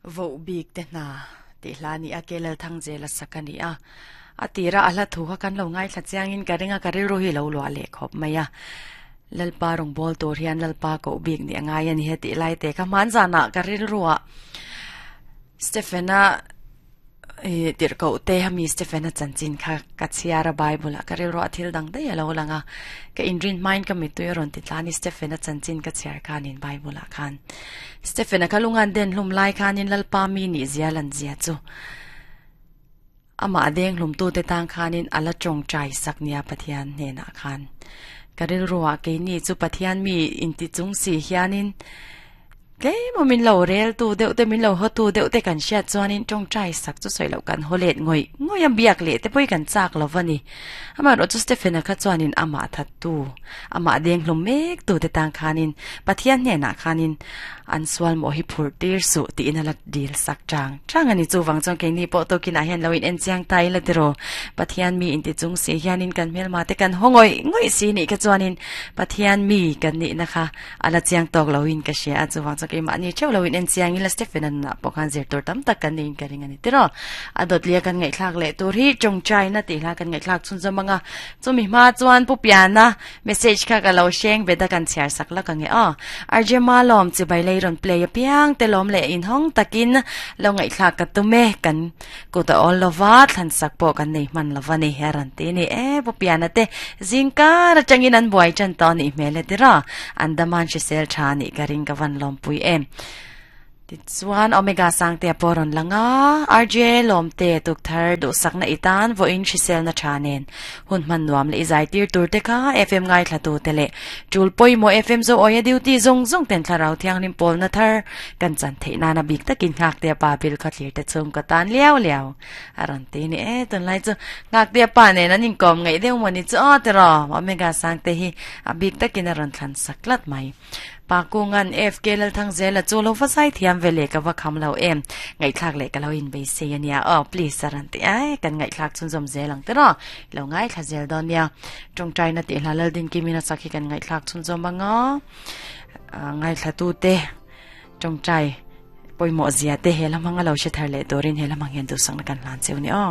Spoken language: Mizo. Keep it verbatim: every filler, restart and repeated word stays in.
Vo bik te na ti hla ni a kelal thang zela sakani a atira ala thu kha kan lo ngai thla chiangin ka ringa ka rilru hi lo lua le khop maya lalpa rong bol tur hian lalpa ko bik ni angai ani he ti lai te ka man zana ka rilru a Stephena e tir ko te hami Stephena chanchin kha ka chiara Bible a ka rilru a thil dang dei alo langa ka inrin mind ka mi tu ron ti tlani Stephena chanchin ka chiar khanin Bible a khan Stephena kalungan den hlum lai khanin lalpa mi ni zialan zia chu ama deng hlum tu te tang khanin ala chong chai saknia Pathian hne na khan karil ruwa ke ni chu Pathian mi inti chung si hianin tle mo min lo rel tu deuh te min lo ho tu deuh te kan hriat chuanin tawng chai sak chu sawi lo kan holet ngoi ngoi am biak le te pawh kan chak lo vani ama ro chu Stephena kha chuanin ama that tu ama deng hlum mek tu te tang khanin Pathian hne na khanin an swal mo hi phur tir su ti in ala dil sak chang chang ani chu wang chong ke ni po to kina hian loin en chiang tai la tiro Pathian mi in ti chung si hianin kan mel ma te kan hongoi ngoi si ni ka chuanin Pathian mi kan ni na kha ala chiang tok loin ka she a chu wang chong ke ma ni cheu loin en chiang ila Stephen an na pokhan zir tur tam tak kan ning ka ring ani tiro adot lia kan ngai thlak le tur hi chong chai na ti hla kan ngai thlak chun zamanga chumi ma chuan pu piana message kha ka lo sheng beda kan chiar sak la ka nge a arje ma lom chi bai lei ron play piang te lom le in hong takin lo ngai thlak ka tume kan ko ta all lova thlan sak po kan nei man lova ni heran te ni e pu piana te zingka ra changin an buai chan ta ni mele tira andaman shi sel tha ni ka ring ka van lom pui em ti chuan omega sang te poron langa rj lom te tuk thar du sakna itan vo in shisel na thanen hun man nuam le izai tir tur te kha fm ngai thla tu te le chul poi mo fm zo oya duty zong zong ten thlarau thiang lim pol na thar kan chan theina na bik takin ngak te pa bil kha thlir te chung ka tan liao liao aran te ni e tun lai chu ngak te pa ne na ning kom ngai deu moni chu a te ro omega sang te hi a bik takin aran thlan saklat mai pakungan F K lal thang zela chu lo fasai thiam vele ka wa kham lo em ngai thlak le ka lo in be se ania oh please saran te ai kan ngai thlak chun zom zelang te ro lo ngai thla zel don nia tong trai na ti hla lal din kimina sakhi kan ngai thlak chun zom anga ngai thla tu te tong trai poimo zia te helamanga lo she thar le dorin helamang hian du sang na kan lan cheu ni o.